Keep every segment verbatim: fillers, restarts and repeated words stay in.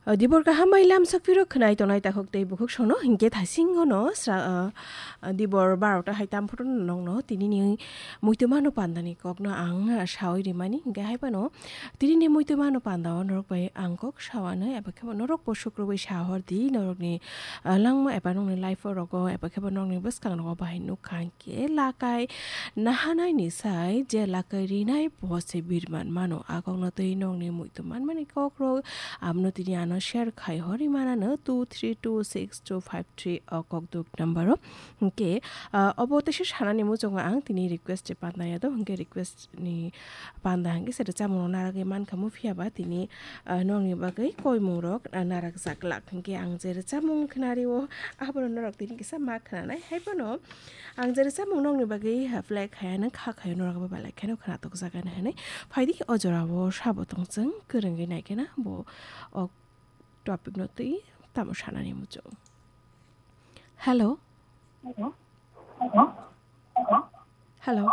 O, dibor kaham bai lamsok phiro khwnai tongnai takhuk tei bukhuk sono hinkhe thasing ono sra-, o, dibor barota hai tam phuru nongno tinini muitu mano pandani kokno ang sawi rimani. Hinkhe hai phano tinini muitu mano panda o norok bai ang kok sawanai, eba khebo norok bo sukrubui sahor di norokni, o, langma eba nokni life o rogo eba khebo nokni bwskang rogo bahai nukha. Khe lakai nahanaini sai je lakai rinai bo se birman mano. A kokno twi nokni muitu manmani kokrok abono tini ano share khai hori manano two three two six two five three o kokduk number o. Hinkhe, ah, obo teisa sanani muchungo ang tini request se panda ya do, hinkhe request ni panda hinkhe se rwchapmung naragwi mankha mu, phiya ba tini, ah, nokni bagwi koimung rok, ah, narakjak lak. Hinkhe ang je rwchapmung khnario abono norok tini kisa ma khnanai. Hai phano ang je rwchapmung nokni bagwi, ah, play khaya nang kha khayo norok abo belai kheno khna tokjak ani hinwi. Phaidi o jorao sabo tongchwng kwrwngwi nai kheno bo o topic no twi tamo sanani muchung. Hello? Hello? Hello?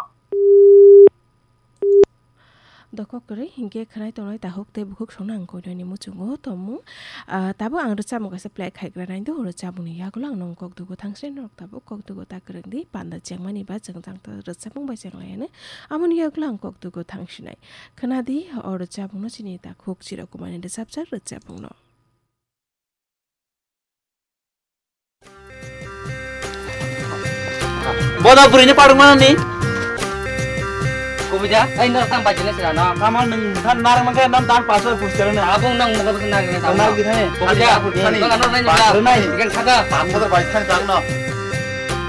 Dokok kwrwi hinkhe khwnai tongnai takhuk tei bukhuk songno ang koinani muchungo tongmung. Ah, tabuk ang rwchapmung kaisa play khaigra nai do, rwchapmungni yagulo ang nong kok dugo thangsinai, norok tabuk kok dugo ta kwrwng di, panda chengmani ba chwngjang ta rwchapmung bai chenglaianw. Aboni yagulo ang kok dugo thangsinai. Khwnadi o rwchapmungno chini takhuk Chirakumani rwchapjak rwchapmungno. Boda bwrwini parwngmani. Kubija, ai no tang bajine sira no. Tamo nwng than narwk mankhe non dan pasoi pusterone. Abung nang mugo bwswk narwk nang tamo. Narwk di thani. Kubija, nang ano nang ba. Rwnai. Ikan saka. Pathor bai thani tang no.